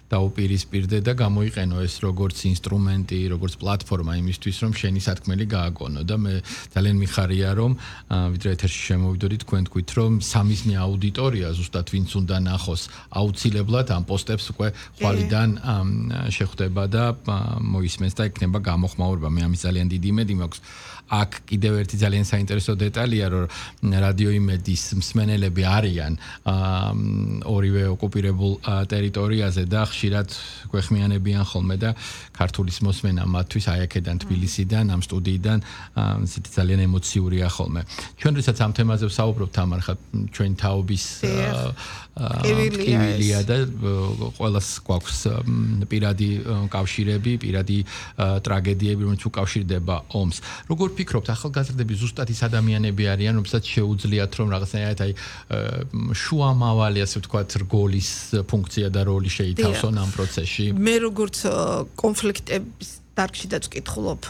დაუპირისპირდე და გამოიყენო ეს როგორც ინსტრუმენტი, როგორც პლატფორმა იმისთვის, რომ შენი სათქმელი გააგონო და მე ძალიან მიხარია, რომ ვიდრე ეთერში შემოვიდოდი თქვენ თქვით, რომ სამიზნე აუდიტორია ზუსტად ვინც უნდა ნახოს აუცილებლად ამ პოსტებს უკვე ხვალიდან შეხვდება და მოისმენს და იქნება გამოხმაურება. მე ამის ძალიან დიდი იმედი მაქვს. აქ კიდევ ერთი ძალიან საინტერესო დეტალია, რომ რადიო იმედის მსმენელები არიან ორივე ოკუპირებულ ტერიტორიაზე და ხშირად გვეხმიანებიან ხოლმე და ქართულის მოსმენა მათთვის აი აქედან თბილისიდან, ამ სტუდიიდან ძალიან ემოციურია ხოლმე. ჩვენ როდესაც ამ თემაზე ვსაუბრობთ, თამარ, ხა ჩვენ თაობის ყივილია და ყველას გვაქვს პირადი კავშირები, პირადი ტრაგედიები, რომელიც უკავშირდება ომს. როგორ ფიქრობთ, ახალგაზრდები ზუსტად ის ადამიანები არიან, რომელსაც შეუძლიათ რომ რაღაცნაირად აი შუამავალი, ასე ვთქვათ, რგოლის ფუნქცია და როლი შეითავსონ ამ პროცესში? მე როგორც კონფლიქტების დარგშიდაც ვკითხულობ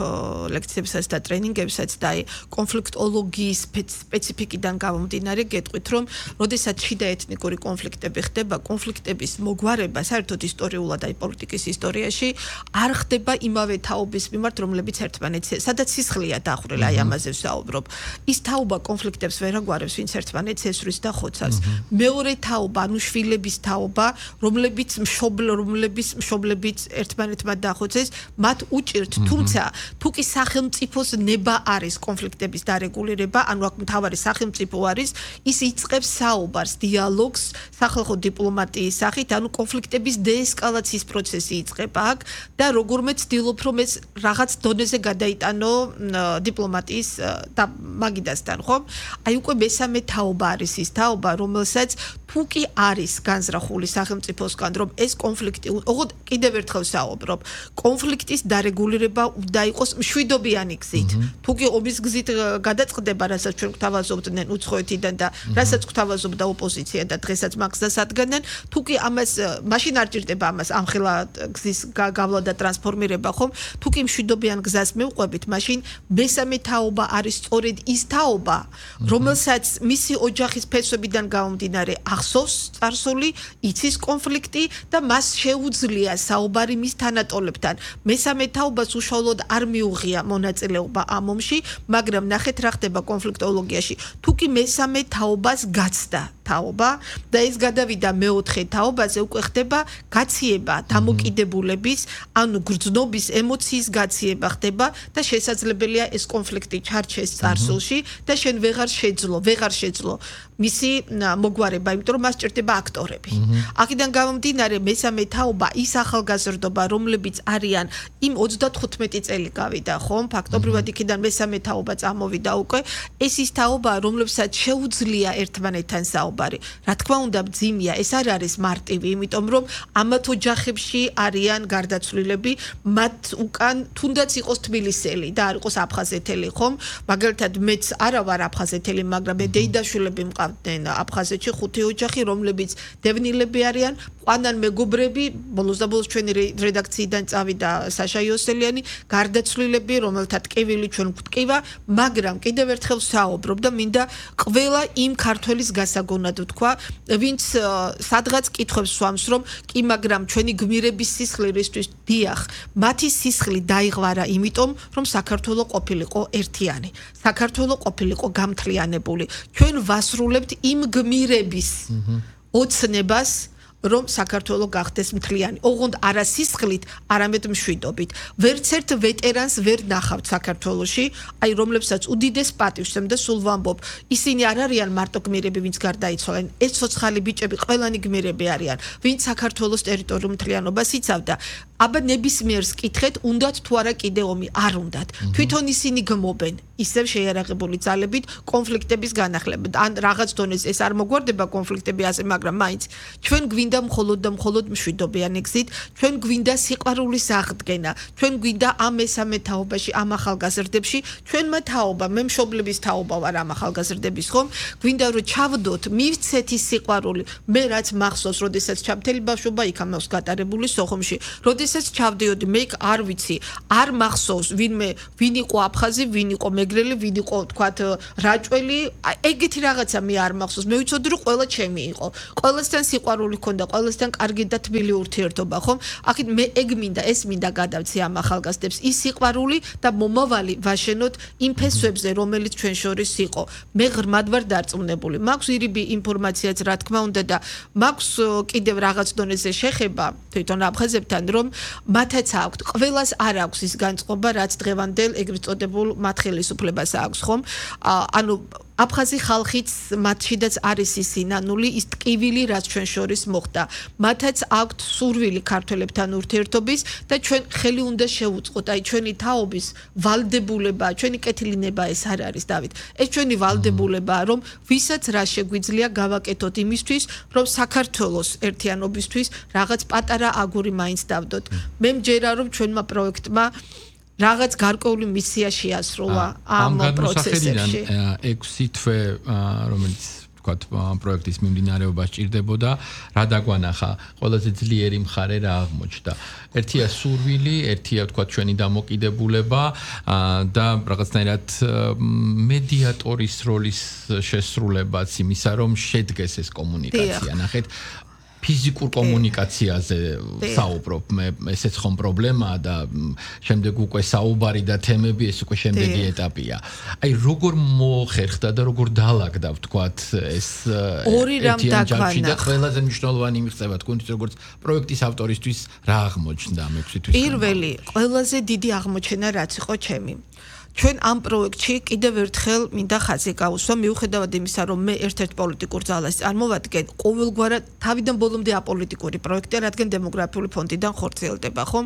ლექციებსაც და ტრენინგებსაც და აი კონფლიქტოლოგიის სპეციფიკიდან გამომდინარე გეტყვით, რომ როდესაც შიდა ეთნიკური კონფლიქტები ხდება, კონფლიქტების მოგვარება საერთოდ ისტორიულად აი პოლიტიკის ისტორიაში არ ხდება იმავე თაობის მიმართ, რომლებიც ერთმანეთს, სადაც სისხლია დახრილი, აი ამაზე ვსაუბრობ. ის თაობა კონფლიქტებს ვერ აგვარებს, ვინც ერთმანეთს ესვრის და ხოცავს. მეორე თაობა, ანუ შვილების თაობა, რომლებიც მშობლებიც ერთმანეთმა დახოცეს, მათ უჭირთ, თუმცა თუ კი სახელმწიფოს ნება არის კონფლიქტების დარეგულირება, ანუ აქ მთავარი სახელმწიფო არის, ის იწყებს საუბარს, დიალოგს სახალხო დიპლომატიის სახით, ანუ კონფლიქტების დეესკალაციის პროცესი იწყება აქ და როგორმე ცდილობ, რომ ეს რაღაც დონეზე გადაიტანო დიპლომატიის და მაგიდასთან, ხო? აი უკვე მესამე თაობა არის ის თაობა, რომელსაც თუ კი არის განზრახული სახელმწიფოსგან, რომ ეს კონფლიქტი, ოღონდ კიდევ ერთხელ ვსაუბრობ, კონფლიქტის დარეგულირება უნდა იყოს მშვიდობიანი გზით. თუ კი ომის გზით გადაწყდება, რასაც ჩვენ გვთავაზობდნენ უცხოეთიდან და რასაც გვთავაზობდა ოპოზიცია და დღესაც მაგას ადგენენ, თუ კი ამას მაშინ არ ჭირდება ამას ამხელა გზის გავლა და ტრანსფორმირება, ხომ? თუ კი მშვიდობიან გზას მივყვებით, მაშინ მესამე თაობა არის სწორედ ის თაობა, რომელსაც მისი ოჯახის ფესვებიდან გამომდინარე ახსოვს წარსული, იცის კონფლიქტი და მას შეუძლია საუბარი მის თანატოლებთან. მესამე თაობას უშუალოდ არ მიუღია მონაწილეობა ამ ომში, მაგრამ ნახეთ რა ხდება კონფლიქტოლოგიაში. თუ კი მესამე თაობას გაცდა თაობა და ეს გადავიდა მეოთხე თაობაზე, უკვე ხდება გაციება დამოკიდებულების, ანუ გრძნობის ემოციის გაციება ხდება და შესაძლებელია ეს კონფლიქტი ჩარჩეს წარსულში და შენ ვეღარ შეძლო მისი მოგვარება, იმიტომ რომ მას ჭირდება აქტორები. აქედან გამომდინარე მესამე თაობა ის ახალგაზრდობა, რომლებიც არიან იმ 35 წელი გავიდა, ხომ? ფაქტობრივად იქიდან მესამე თაობა წამოვიდა უკვე. ეს ის თაობა, რომლებსაც შეუძლია ერთმანეთთან საუბარი. რა თქმა უნდა, მძიმეა, ეს არ არის მარტივი, იმიტომ რომ ამათ ოჯახებში არიან გარდაცვლილები, მათ უკან თუნდაც იყოს თბილისელი და არ იყოს აფხაზეთელი, ხომ? მაგალითად, მეც არა ვარ აფხაზეთელი, მაგრამ მე დეიდაშვილები მყავდნენ აფხაზეთში 5 ოჯახი, რომლებიც დევნილები არიან, ყვანან მეგობრები, ბოლოს და ბოლოს ჩვენი რედაქციიდან წავიდა საშა იოსელიანი, გარდაცვლილები, რომელთა ტკივილი ჩვენ გვტკივა, მაგრამ კიდევ ერთხელ ვსაუბრობ და მინდა ყველა იმ ქართველის გასაგონად ვთქვა, ვინც სადღაც კითხვებს სვამს, რომ კი, მაგრამ ჩვენი გმირების სისხლი რისთვის დიახ, მათი სისხლი დაიღვარა იმიტომ, რომ საქართველო ყოფილიყო ერთიანი, საქართველო ყოფილიყო გამთლიანებული. ჩვენ ვასრულებთ იმ გმირების ოცნებას, რომ საქართველო გახდეს მთლიანი. ოღონდ არა სისხლით, არამედ მშვიდობით. ვერც ერთ ვეტერანს ვერ ნახავთ საქართველოში, აი რომლებსაც უდიდეს პატივს და სულ ვამბობ, ისინი არ არიან მარტო გმირები, ვინც გარდაიცვალენ. ეს ცოცხალი ბიჭები ყველანი გმირები არიან, ვინც საქართველოს ტერიტორიულ მთლიანობას იცავდა. აბა ნებისმიერს კითხეთ, უნდათ თუ არა კიდე ომი? არ უნდათ. თვითონ ისინი გმობენ ისევ შეიარაღებული ძალებით კონფლიქტების განახლებით. ან რაღაც დონეზე ეს არ მოგვარდება კონფლიქტები ასე, მაგრამ მაინც ჩვენ გვინდა მხოლოდ და მხოლოდ მშვიდობიანი გზით, ჩვენ გვინდა სიყვარულის აღდგენა, ჩვენ გვინდა ამ მესამე თაობაში, ამ ახალგაზრდებში, ჩვენმა თაობა, მე მშობლების თაობა ვარ ამ ახალგაზრდების, ხომ? გვინდა რომ ჩავდოთ, მივცეთ ის სიყვარული. მე რაც მახსოვს, როდესაც ჩამთელი ბავშვობა იქ ამას გატარებული სოხუმში, როდესაც ჩავდიოდი, მე იქ არ ვიცი, არ მახსოვს ვინ იყო აფხაზი, ვინ იყო მეგრელი, ვინ იყო თქვათ რაჭველი, ეგეთი რაღაცა მე არ მახსოვს. მე ვიცოდი რომ ყველა ჩემი იყო. ყველასთან სიყვარული ქონდა ქონდა ყველასთან კარგი და თბილი ურთიერთობა, ხომ? აქეთ მე ეგ მინდა, ეს მინდა გადავცი ამ ახალგაზრდებს, ის სიყვარული და მომავალი ვაშენოთ იმ ფესვებზე, რომელიც ჩვენ შორის იყო. მე ღრმად ვარ დარწმუნებული. მაქვს ირიბი ინფორმაციაც რა თქმა უნდა და მაქვს კიდევ რაღაც დონეზე შეხება თვითონ აფხაზებთან, რომ მათაც აქვთ, ყველას არ აქვს ის განწყობა, რაც დღევანდელ ეგრეთ წოდებულ მათ ხელისუფლებას აქვს, ხომ? ანუ აფხაზი ხალხიც მათშიდაც არის ის სინანული, ის ტკივილი, რაც ჩვენ შორის მოხდა. მათაც აქვთ სურვილი ქართველებთან ურთიერთობის და ჩვენ ხელი უნდა შევუწყოთ, აი ჩვენი თაობის ვალდებულება, ჩვენი კეთილინება ეს არ არის, დავით. ეს ჩვენი ვალდებულებაა, რომ ვისაც რა შეგვიძლია გავაკეთოთ იმისთვის, რომ საქართველოს ერთიანობისთვის რაღაც პატარა აგური მაინც დავდოთ. მე მჯერა, რომ ჩვენმა პროექტმა რაღაც გარკვეული მისია შეასრულა ამ პროცესებში. 6 თვე, რომელიც ვთქვათ, პროექტის მიმდინარეობა სჭირდებოდა, რა დაგვანახა, ყველაზე ძლიერი მხარე რა აღმოჩნდა. ერთია სურვილი, ერთია ვთქვათ ჩვენი დამოკიდებულება და რაღაცნაირად მედიატორის როლის შესრულებაც იმისა, რომ შედგეს ეს კომუნიკაცია. ნახეთ, ფიზიკურ კომუნიკაციაზე საუბრობ, მე ესეც ხომ პრობლემაა და შემდეგ უკვე საუბარი და თემები ეს უკვე შემდეგი ეტაპია. აი როგორ მოხერხდა და როგორ დაალაგდა ვთქვათ ეს ორი რამ დაგვანა. და ყველაზე მნიშვნელოვანი მიღწევა თქვენთვის როგორც პროექტის ავტორისთვის რა აღმოჩნდა ამ 6 თვის? პირველი, ყველაზე დიდი აღმოჩენა რაც იყო ჩემი. ჩვენ ამ პროექტში კიდევ ერთხელ მინდა ხაზი გაუსვა, მიუხედავად იმისა, რომ მე ერთ-ერთ პოლიტიკურ ძალას წარმოვადგენ, ყოველგვარად თავიდან ბოლომდე აპოლიტიკური პროექტი, რადგან დემოგრაფიული ფონდიდან ხორციელდება, ხომ?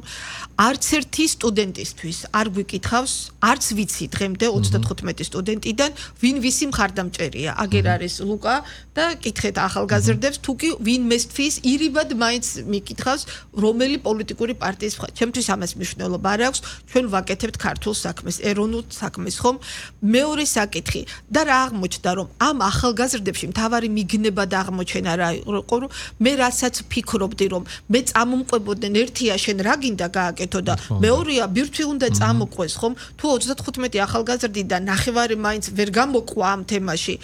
არც ერთი სტუდენტისთვის არ გვიკითხავს, არც ვიცი დღემდე 35 სტუდენტიდან, ვინ ვისი მხარდამჭერია. აგერ არის ლუკა და კითხეთ ახალგაზრდებს, თუ კი ვინ მესთვის, ირიბად მაინც მიკითხავს, რომელი პოლიტიკური პარტიის მხარდამჭერია. ჩემთვის ამას მნიშვნელობა არ აქვს, ჩვენ ვაკეთებთ ქართულ საქმეს, ეროვნულ საქმეს, ხომ? მეორე საკითხი და რა აღმოჩნდა, რომ ამ ახალგაზრდებში მთავარი მიგნება და აღმოჩენა რა იყო, რომ მე რასაც ფიქრობდი, რომ მე წამომყვებოდნენ, ერთია შენ რა გინდა გააკეთო და მეორეა ბირთვი უნდა წამოყვეს, ხომ? თუ 35 ახალგაზრდიდან ნახევარი მაინც ვერ გამოკვა ამ თემაში,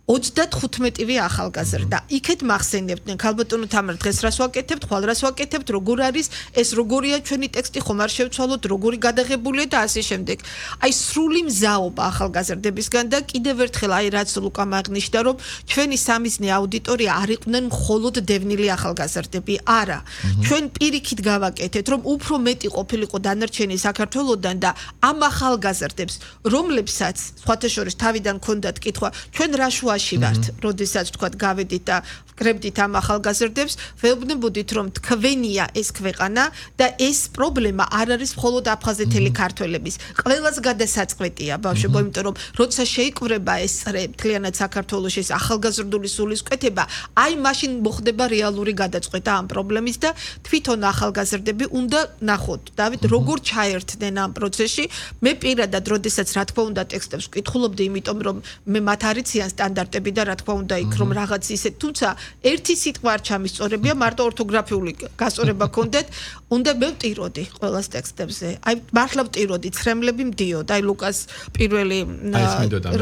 35-ვე ახალგაზრდა. იქეთ მახსენებდნენ, ქალბატონო თამარ, დღეს რას ვაკეთებთ, ხვალ რას ვაკეთებთ, როგორ არის, ეს როგორია ჩვენი ტექსტი, ხომ არ შევცვალოთ, როგორი გადაღებულია და ასე შემდეგ. აი სრული მზაობა ახალგაზრდებისგან და კიდევ ერთხელ აი რაც ლუკამ აღნიშნა, რომ ჩვენი სამიზნე აუდიტორია არ იყვნენ მხოლოდ დევნილი ახალგაზრდები, არა. ჩვენ პირიქით გავაკეთეთ, რომ უფრო მეტი ყოფილიყო დანარჩენი საქართველოსდან და ამ ახალგაზრდებს, რომლებსაც სხვათა შორის თავიდან ჰქონდათ კითხვა, ჩვენ რა შუაში ვართ, როდესაც თქვათ გავედით და ვკრებდით ამ ახალგაზრდებს, ვეუბნებოდით, რომ თქვენია ეს ქვეყანა და ეს პრობლემა არ არის მხოლოდ აფხაზეთელი ქართველების. ყველას გადასაწყვეტია, ბავშვებო, იმიტომ რომ როცა შეიკვრება ეს წრე მთლიანად საქართველოში ეს ახალგაზრდული სულისკვეთება, აი მაშინ მოხდება რეალური გადაწყვეტა ამ პრობლემის და თვითონ ახალგაზრდები უნდა ნახოთ, დავით, როგორ ჩაერთდნენ ამ პროცესში. მე პირადად, როდესაც რა თქმა უნდა ტექსტებს ვკითხულობდი, იმიტომ რომ მე მათ არიციან სტანდარტები და რა თქმა უნდა იქ რომ რაღაც ისე, თუმცა ერთი სიტყვა არ ჩამისწორებია, მარტო ორთოგრაფიული გასწორება გქონდეთ, უნდა მე ვტიროდი ყველას ტექსტებზე. აი მართლა ვტიროდი, ცრემლები მდიოდა, აი ლუკას პირველი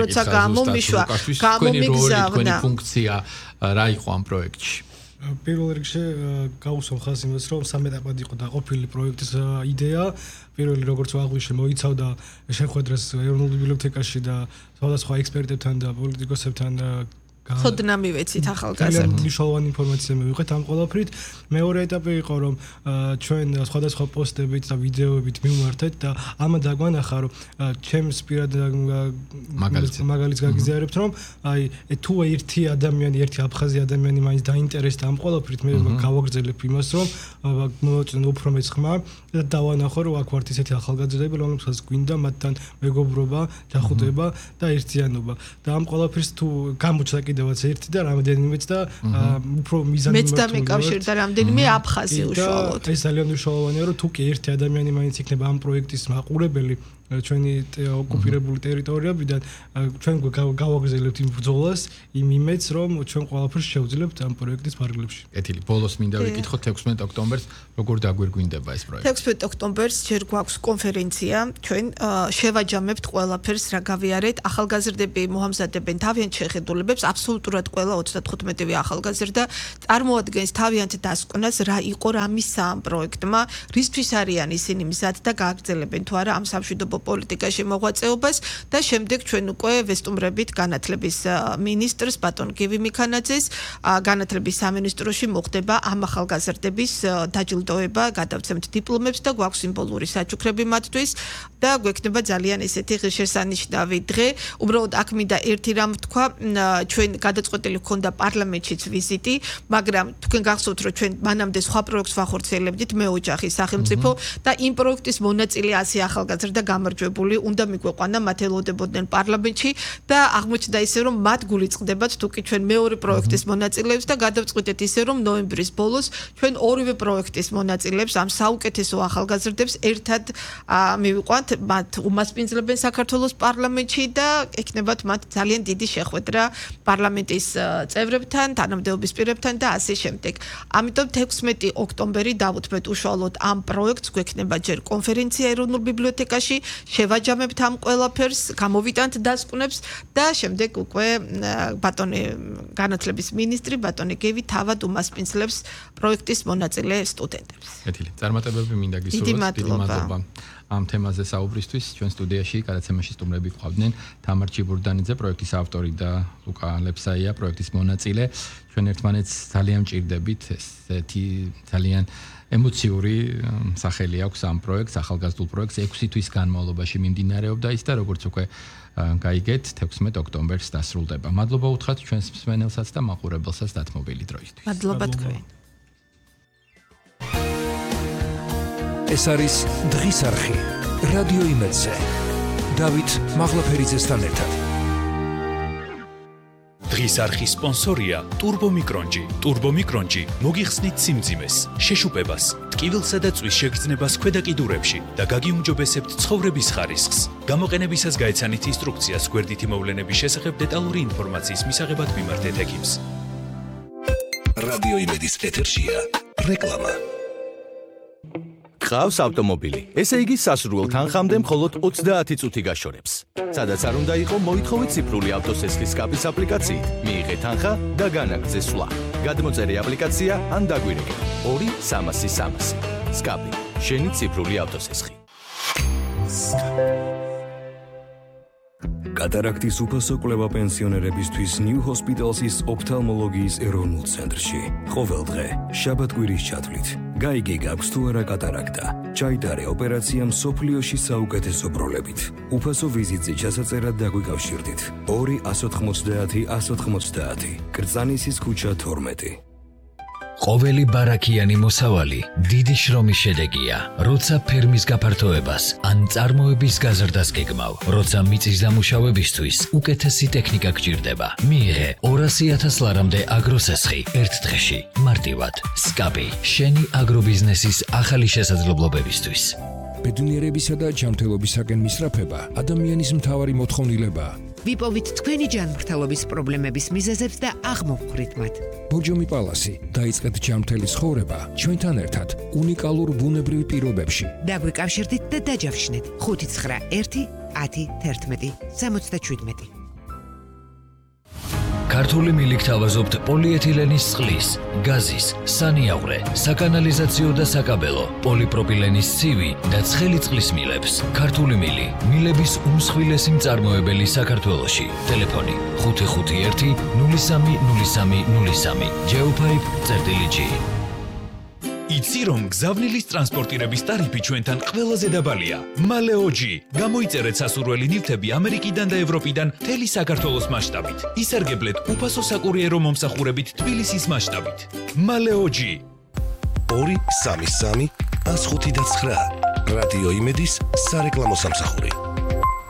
როცა გამომიშვა, გამომიგზავნა. თქვენი ფუნქცია რა იყო ამ პროექტში? პირველ რიგში გავუსვამ ხაზს იმას, რომ სამ ეტაპად იყო დაყოფილი პროექტის იდეა. პირველი როგორც ვაღვიშვე, მოიცავდა შეხვედრას ეროვნულ ბიბლიოთეკაში და სხვადასხვა ექსპერტებთან და პოლიტიკოსებთან ხოდნა მივეცით ახალგაზრდებს. მნიშვნელოვანი ინფორმაცია მივიღეთ ამ ყველაფრით. მეორე ეტაპი იყო, რომ ჩვენ სხვადასხვა პოსტებით და ვიდეოებით მივმართეთ და ამა დაგვანახა, რომ ჩემს პირად მაგალითს გაგიზიარებთ, რომ აი თუ ერთი ადამიანი, ერთი აფხაზი ადამიანი მაინც დაინტერესდა ამ ყველაფრით, მე გავაგრძელებ იმას, რომ მოვაწვენ უფრო მეც ხმა და დავანახო, რომ აქ ვართ ისეთი ახალგაზრდები, რომლებსაც გვინდა მათთან მეგობრობა, ჯახუტება და ერთიანობა. და ამ ყველაფერს თუ გამოჩნდა კიდევაც ერთი და რამდენიმეც და უფრო მიზანი მეც დამეკავშირდა რამდენიმე აფხაზი უშუალოდ. ეს ძალიან მნიშვნელოვანია, რომ თუ კი ერთი ადამიანი მაინც იქნება ამ პროექტის მაყურებელი, ჩვენი ოკუპირებული ტერიტორიებიდან ჩვენ გავაგზავნებთ იმ ბრძოლას იმ იმედს რომ ჩვენ ყველაფერს შევძლებთ ამ პროექტის ფარგლებში. კეთილი, ბოლოს მინდა ვიკითხოთ 16 ოქტომბერს როგორ დაგვირგვინდება ეს პროექტი? 16 ოქტომბერს ჯერ გვაქვს კონფერენცია, ჩვენ შევაჯამებთ ყველაფერს, რა გავიარეთ, ახალგაზრდები მოამზადებენ თავიანთ შეხედულებებს, აბსოლუტურად ყველა 35-ვე ახალგაზრდა წარმოადგენს თავიანთ დასკვნას, რა იყო რა მისცა ამ პროექტმა, რისთვის არიან ისინი მზად და გააგრძელებენ თუ არა ამ სამშვიდობო პოლიტიკაში მოღვაწეობას და შემდეგ ჩვენ უკვე ვესტუმრებით განათლების მინისტრს ბატონ გივი მიქანაძეს, განათლების სამინისტროში მოხდება ამ ახალგაზრდების დაჯილდოება, გადავცემთ დიპლომებს და გვაქვს სიმბოლური საჩუქრები მათთვის და გვექნება ძალიან ესეთი ღირსშესანიშნავი დღე. უბრალოდ აქ მინდა ერთი რამ თქვა, ჩვენ გადაწყვეტილი გქონდა პარლამენტშიც ვიზიტი, მაგრამ თქვენ გახსოვთ რომ ჩვენ მანამდე სხვა პროექტს ვახორციელებდით მეოჯახის სახელმწიფო და იმ პროექტის მონაწილე 100 ახალგაზრდა გამარჯვებული უნდა მიგვეყვანა, მათ ელოდებოდნენ პარლამენტში და აღმოჩნდა ისე რომ მათ გული წყდებათ თუკი ჩვენ მეორე პროექტის მონაწილეებს და გადავწყვიტეთ ისე რომ ნოემბრის ბოლოს ჩვენ ორივე პროექტის მონაწილეებს ამ საუკეთესო ახალგაზრდებს ერთად მივიყვანთ, მათ უმასპინძლებენ საქართველოს პარლამენტში და ექნებათ მათ ძალიან დიდი შეხვედრა პარლამენტის წევრებთან, თანამდებობის პირებთან და ასე შემდეგ. ამიტომ 16 ოქტომბერი დავუთმეთ უშუალოდ ამ პროექტს, გვექნება ჯერ კონფერენცია ეროვნულ ბიბლიოთეკაში, შევაჯამებთ ამ ყველაფერს, გამოვიტანთ დასკვნებს და შემდეგ უკვე ბატონი განათლების მინისტრი ბატონი გევი თავად უმასპინძლებს პროექტის მონაწილე სტუდენტებს. კეთილი. წარმატებები მინდა გისურვოთ. დიდი მადლობა. ამ თემაზე საუბრისთვის ჩვენ სტუდიაში გადაცემაში სტუმრები გვყავდნენ თამარ ჩიბურდანიძე, პროექტის ავტორი და ლუკა ლეფსაია, პროექტის მონაწილე. ჩვენ ერთმანეთს ძალიან მჭირდებით, ესეთი ძალიან ემოციური სახელი აქვს ამ პროექტს, ახალგაზრდულ პროექტს 6 თვის განმავლობაში მიმდინარეობდა ის და როგორც უკვე გაიგეთ 16 ოქტომბერს დასრულდება. მადლობა უთხრათ ჩვენს მსმენელსაც და მაყურებელსაც დათმობილი დროისთვის. მადლობა თქვენ. ეს არის დღის არხი რადიო იმედზე. დავით მაღლაფერიძესთან ერთად. დღის არხის სპონსორია ტურბომიკრონჯი. ტურბომიკრონჯი მოგიხსნით სიმძიმეს, შეშუპებას, ტკივილსა და წვის შეგრძნებას ქვედა კიდურებში და გაგიუმჯობესებთ ცხოვრების ხარისხს. გამოყენებისას გაეცანით ინსტრუქციას გვერდითი მოვლენების შესახებ დეტალური ინფორმაციის მისაღებად მიმართეთ ექიმს. რადიო იმედის ეთერშია რეკლამა. გყავს ავტომობილი. ესე იგი სასურველ თანხამდე მხოლოდ 30 წუთი გაშორებს. სადაც არ უნდა იყო, მოითხოვეთ ციფრული ავტოსესხლის სკაპის აპლიკაციით. მიიღეთ თანხა და განაგრძე სვლა. გადმოწერე აპლიკაცია ან დაგვირეკე 2-300-300. სკაპი, შენი ციფრული ავტოსესხი. კატარაქტის უფასო კვლევა პენსიონერებისთვის New Hospital's ოფთალმოლოგიის ეროვნულ ცენტრში. ყოველ დღე, შაბათ-კვირის ჩათვლით. გაიგე გაქვს თუ არა კატარაქტა. ჩაიტარე ოპერაცია მსოფლიოში საუკეთესო პროლებით. უფასო ვიზიტზე ჩასაწერად დაგვიკავშირდით. 2-190-190. კრწანისის ქუჩა 12. ყოველი ბარაქიანი მოსავალი დიდი შრომის შედეგია, როცა ფერმის გაფართოებას ან წარმოების გაზრდას გეგმავ, როცა მიწის დამუშავებისთვის უკეთესი ტექნიკა გჭირდება. მიიღე 200,000 ლარამდე აგროსესხი ერთ დღეში, მარტივად. სკაპი, შენი აგრობიზნესის ახალი შესაძლებლობებისთვის. ბედნიერებისა და ჯანმრთელობისაკენ მისწრაფება ადამიანის მთავარი მოთხოვნილებაა. ვიპოვით თქვენი ჯანმრთელობის პრობლემების მიზეზებს და აღმოვხვრით მათ. ბორჯომი პალასი, დაიწყეთ ჯანმრთელი ცხოვრება ჩვენთან ერთად უნიკალურ ბუნებრივ პირობებში. დაგვიკავშირდით და დაჯავშნეთ 591-1011-77. ქართული მილიქ თავაზობთ პოლიეთილენის წყლის, გაზის, სანიავრე, საკანალიზაციო და საკაბელო, პოლიპროპილენის ცივი და ცხელი წყლის მილებს. ქართული მილი, მილების უმსხვილესი მწარმოებელი საქართველოში. ტელეფონი 551-030303. Geopipe.gr. იცი რომ გზავნილის ტრანსპორტირების ტარიფი ჩვენთან ყველაზე დაბალია. მალეოჯი. გამოიწერეთ სასურველი ნივთები ამერიკიდან და ევროპიდან მთელი საქართველოს მასშტაბით. ისარგებლეთ უფასო საკურიერო მომსახურებით თბილისის მასშტაბით. მალეოჯი. 2-3-3-105-9. რადიო იმედის სარეკლამო სამსახური.